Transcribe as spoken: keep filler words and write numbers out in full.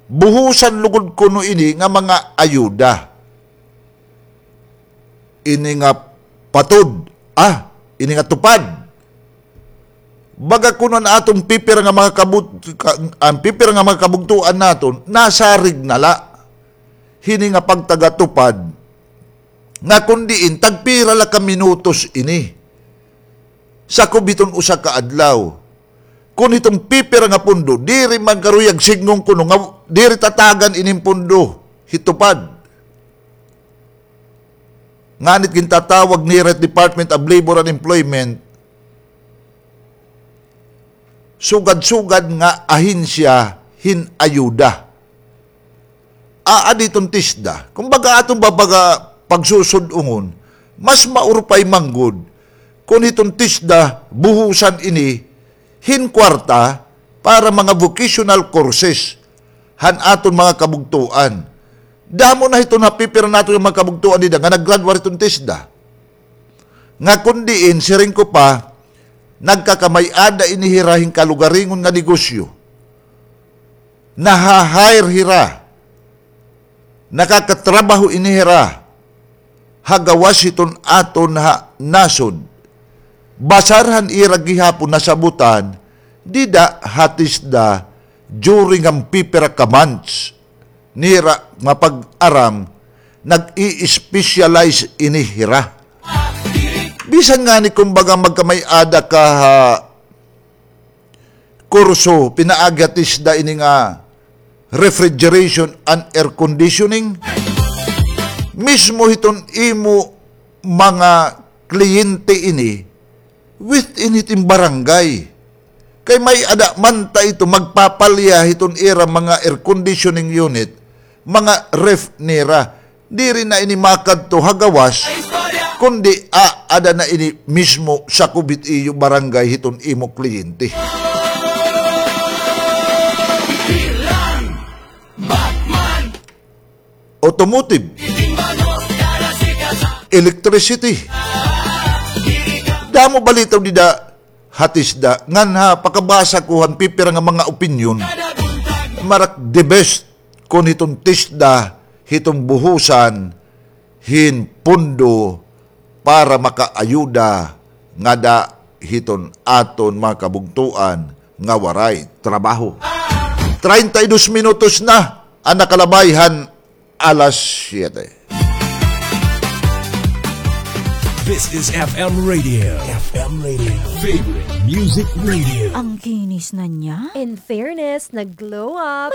Buhusan lugod kuno ini nga mga ayuda. Ini nga patod, ah, ini nga tupad. Baga kuno an aton pipira nga mga kabut-, ka-, an pipira nga mga kabugtoan naton, nasarig na la hini nga pagtagatupad, nga kun diin, tagpira la ka minutos ini. Sakob hiton usa ka adlaw. Kun hiton pipira nga pondo, diri man karuyag sidngon kuno nga diri tatagan ining pondo, hitupad. Nganit gintatawag nira Department of Labor and Employment, sugad-sugad nga ahensya hin ayuda. Aada hiton TESDA. Kumbaga, aton ba baga pagsusud-ongon, mas maurupay man gud kun hiton TESDA buhusan ini hin kwarta para mga vocational courses han aton mga kabugtoan. Damo na hiton ha pipira naton nga mga kabugtoan dida nga nag-graduate hiton TESDA. Nga kun diin, siring ko pa, nagkakamay-ada ini hira hin kalugaringon nga negosyo. Naha-hire hira. Nakakatrabaho ini hira ha gawas hiton aton ha nasod. Basar han ira gihapon nasabotan dida ha TESDA during an pipira ka months nira nga pag-aram, nag-i-specialize ini hira. Bisan ngani kumbaga magkamay-ada ka ha kurso, pinaagi ha TESDA ini nga refrigeration and air conditioning. Mismo hiton imo mga kliyente ini, within hiton barangay. Kay may-ada man ta ito magpapalya hiton ira mga air conditioning unit, mga ref nira. Diri na ini makadto ha gawas, kundi aada na ini mismo sakob hit iyo barangay hiton imo kliyente. Automotive, electricity. Damo balitaw dida ha TESDA, ngan ha pakabasa ko han pipira nga mga opinyon, marak the best kon hiton TESDA hiton buhusan hin pondo para makaayuda ngada hiton aton mga kabugtoan nga waray trabaho. Treinta y dos minutos na an nakalabay han alas siyete. This is F M Radio. F M Radio. Favorite Music Radio. Ang kinis na niya. In fairness, nag-glow up.